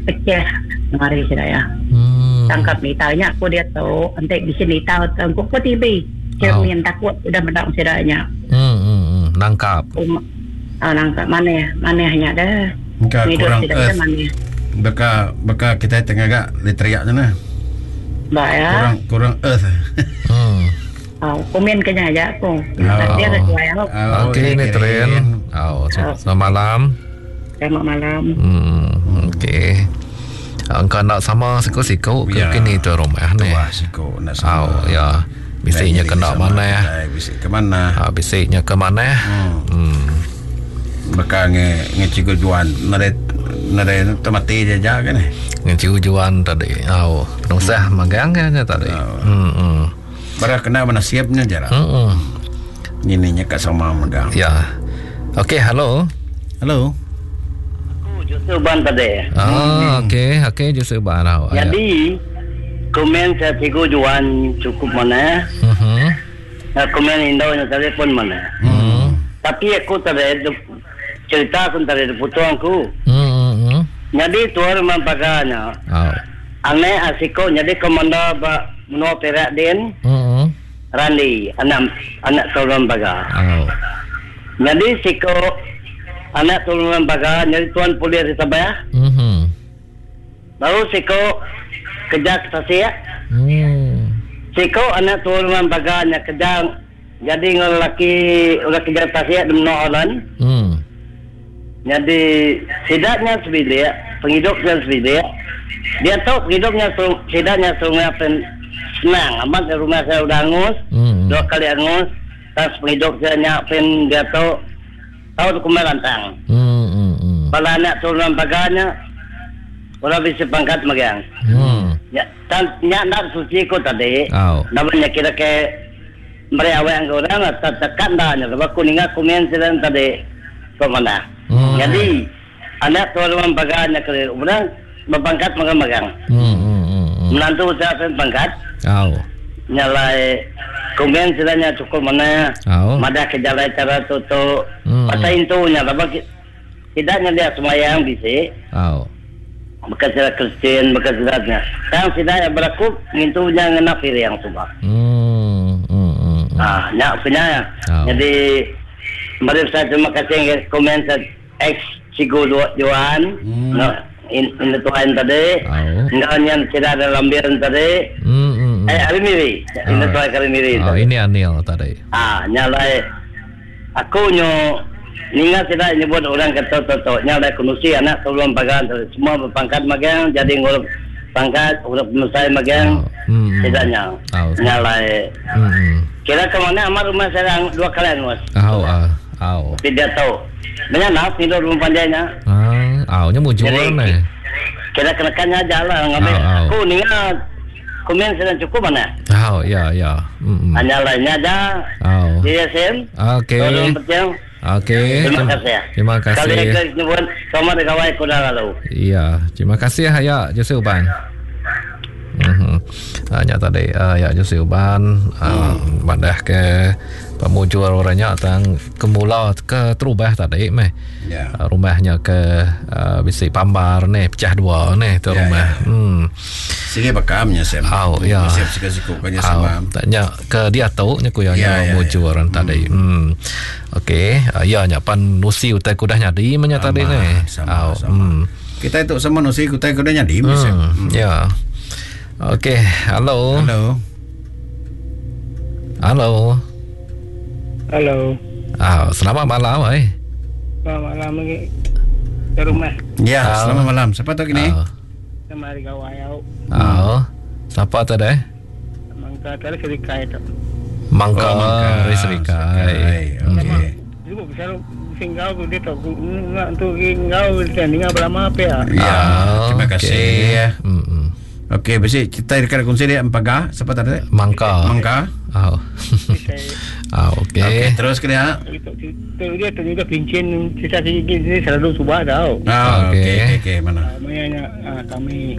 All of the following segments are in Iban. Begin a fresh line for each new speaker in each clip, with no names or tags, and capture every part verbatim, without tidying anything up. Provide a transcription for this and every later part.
Pecah mari sida ya.
Hmm.
Tangkap nita nya aku dia tu enti bisi nita tangkup ko T V. Cermin
oh.
Takut udah meda sida nya.
Hmm, hmm, hmm. Nangkap.
Um, ah, nangkap maneh, maneh nya dah.
Engka kurang earth. Baka baka kita tengah gak literiak tu nah.
Ba ya.
Kurang kurang earth.
Hmm.
Oh, komen kena aja aku.
Oh. Okey ni tren. Oh, selamat malam.
Selamat malam.
Hmm, okey. Angka nak sama siku-siku ke kini tu rumah ni.
Wah, siku nak sama.
Oh, ya. Bisiknya kena mana?
Bisik ke mana?
Ha, bisiknya ke mana?
Hmm.
Hmm.
Baka nge nge cikgu Juan nare nare mati je ja kan ni.
Nge cikgu Juan tadi. Oh, penusah hmm. magang kan tadi.
Oh.
Hmm. hmm.
Bara kena menasibnya je lah.
Hmm.
Ini nya kat sama magang.
Ya. Okey, halo.
Halo.
Aku Joseph Ban tadi.
Ah, hmm. okey, okey Joseph Ban. Oh,
jadi komen saya cikgu Juan cukup mana?
Mhm.
Uh, komen Indo nya tadi pun mana?
Hmm.
Tapi aku tadi cerita aku tadi putuang aku.
Hmm. Hmm.
Jadi tuan rumah paganya.
Oh.
Ane asiko jadi komando ba menua Perak din.
Hmm.
Randi anak anak tuan baga.
Oh.
Jadi siko anak tuan baga jadi tuan polis di Sabah.
Mhm.
Baru siko kerja ke Tasik.
Hmm.
Siko anak tuan baga nya kerja jadi ngol laki ulah kerja Tasik di menua Holland.
Hmm.
Jadi sidaknya sebilik, penghidupnya sebilik. Dia tahu penghidupnya sidaknya sungai pen senang. Amat rumah saya udah angus,
hmm.
dua kali angus. Tas penghidup saya nyiapin dia tahu tahu kumel lantang.
Hmm, hmm, hmm.
Bala anak turunan baganya, orang bisa pangkat magang.
Hmm.
Ya, tan nyak nak suci ko tadi.
Oh.
Namanya kira ke mereka awak yang orang tak tekan dah. Sebab aku ningat komen sedang tadi ke mana.
Hmm.
Jadi anak turunan baganya ke orang berpangkat magang-magang.
Hmm, hmm, hmm, hmm.
Menantu saya pun pangkat.
Oh.
Nyalai komen sedangnya cukup mana.
Oh.
Madah ke jalan cara tutup.
Hmm.
Pasal intunya sebab tidaknya dia semayang bisi.
Oh.
Bekas sila Kristian, bekas silatnya. Sekarang tidak yang berlaku ngintunya ngena yang subah.
Hmm. Hmm. Hmm.
Ah, nyak punya.
Oh.
Jadi mari saya terima kasih komen saya ex Cigu Johan.
Hmm.
No, in, in tuan tadi.
Oh.
Enggak yang tidak ada lambiran tadi.
Hmm. hmm.
Eh, hari miri. Ini tuan kali miri.
Oh, ini Anil tadi.
Ah, nyalai aku nyo ninga tidak nyebut orang kata toto nyalai kunusi anak sebelum pagan semua berpangkat magang jadi ngurus pangkat urus pemusai magang.
Oh. Hmm.
Tidaknya.
Oh.
Nyalai.
Hmm.
Kira ke mana amat rumah saya dua kali angus.
Oh, ah. Oh.
Tidak tahu. Banyak nak tidur rumah panjangnya.
Ah, oh, nya mujur ni.
Kira kenakannya aja lah ngambil.
Oh, oh.
Aku ninga komen sedang cukup mana?
Oh, ya, ya. Hmm.
Hanya lainnya aja.
Oh.
Ya, Sem.
Okey. Okey.
Terima kasih.
Terima kasih.
Kali lagi nyebut sama dengan kuda lalu.
Iya, terima kasih ya Joseph Uban. Mhm. Hanya tadi uh, ya Joseph Uban uh, hmm. Madah ke pemujur orangnya tang kemula ke terubah tadi meh.
Ya.
Uh, rumahnya ke uh, bisi pambar ni pecah dua ni tu
ya,
rumah.
Ya, ya.
Hmm.
Sige bakamnya sem.
Oh, ya.
Siap siku-siku kanya sama.
Tanya ke dia tu nya ku ya
ya,
mujur
ya.
Tadi. Hmm. Okey, uh, ya nya pan nusi utai kudah nyadi menya tadi ni.
Sama,
oh,
sama.
Hmm.
Kita itu sama nusi utai kudah nyadi
hmm.
sem.
Hmm. Ya. Okey, halo.
Halo.
Halo.
Halo.
Ah, selamat malam eh.
Selamat malam lagi. Ke rumah.
Ya,
Ah.
selamat malam. Siapa tu kini?
Ah.
Sama hari gawai au.
Ah. Siapa tu deh?
Mangka tadi serikai tu.
Mangka,
Oh, Mangka.
dari Serikai.
Serikai. Okey.
Juga besar singgau tu dia tu ngak tu ngau dia dengar berlama apa ya.
Ya,
Ah,
terima
okey.
kasih.
Hmm.
Okey, besi kita dekat kongsi dia Empaga, siapa tadi?
Mangka.
Mangka.
Oh. Ah, okey.
Okey, terus ke dia.
Tu dia tu juga pincin cerita sikit ni selalu subah tau.
Ah,
Okey.
okey, okey, okey, mana?
Maknanya kami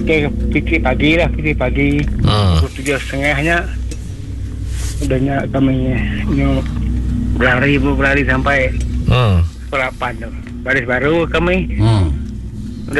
okey fikir pagi lah, fikir pagi.
Hmm.
Pukul tujuh setengahnya udahnya kami nyo berlari berlari sampai
Hmm.
pukul lapan tu. Baris baru kami
Hmm.